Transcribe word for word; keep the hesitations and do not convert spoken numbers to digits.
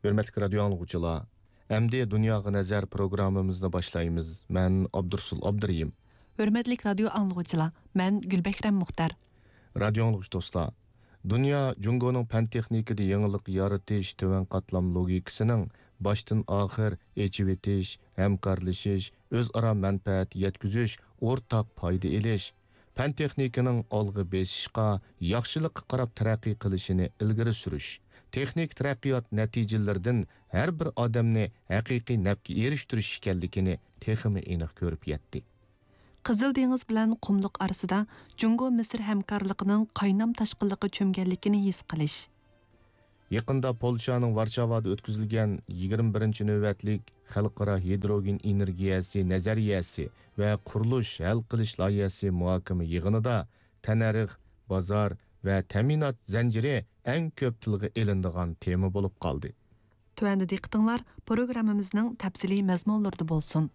ھۆرمەتلىك رادىيو ئاڭلىغۇچىلار، ئەمدى دۇنياغا نەزەر پروگراممىمىزنى باشلايمىز. مەن ئابدۇرسۇل ئابدۇرېھىم. ھۆرمەتلىك رادىيو ئاڭلىغۇچىلار، مەن گۈلبەھرەم مۇختەر. رادىيو ئاڭلىغۇچى دوستلار، دۇنيا جۇڭگونىڭ پەن تېخنىكىدا يېڭىلىق يارىتىش، تۆۋەن قاتلام لوگىكىسىنىڭ باشتىن ئاخىر ئېچىۋېتىش، ھەمكارلىشىش، ئۆزئارا مەنپەئەت يەتكۈزۈش، ئورتاق پايدا ئېلىش، پەن تېخنىكىنىڭ ئالغا بېسىشقا، ياخشىلىققا قاراپ تەرەققىي قىلىشىنى ئىلگىرى سۈرۈش، تېخنىكا تەرەققىيات نەتىجىلىرىدىن ھەر بىر ئادەمنى ھەقىقىي نەپكە ئېرىشتۈرۈش ئىكەنلىكىنى تېخىمۇ ئېنىق كۆرۈپ يەتتى. قىزىل دېڭىز بىلەن قۇملۇق ئارىسىدا جۇڭگو مىسىر ھەمكارلىقىنىڭ قاينام تاشقىنلىققا چۆمگەنلىكىنى ھېس قىلىش. يېقىندا پولشانىڭ ۋارشاۋادا ئۆتكۈزۈلگەن يىگىرمە بىرىنچى نۆۋەتلىك خەلقئارا ھىدروگېن ئېنېرگىيەسى نەزەرىيەسى ۋە قۇرۇلۇش ھەل قىلىش لايىھەسى مۇھاكىمە يىغىنىدا تەننەرخ، بازار ۋە تەمىنات زەنجىرى ئەڭ كۆپ تىلغا ئېلىنىدىغان تېما بولۇپ قالدى. تۆۋەندە دىققىتىڭلار پروگراممىمىزنىڭ تەپسىلىي مەزمۇنلىرىدا بولسۇن.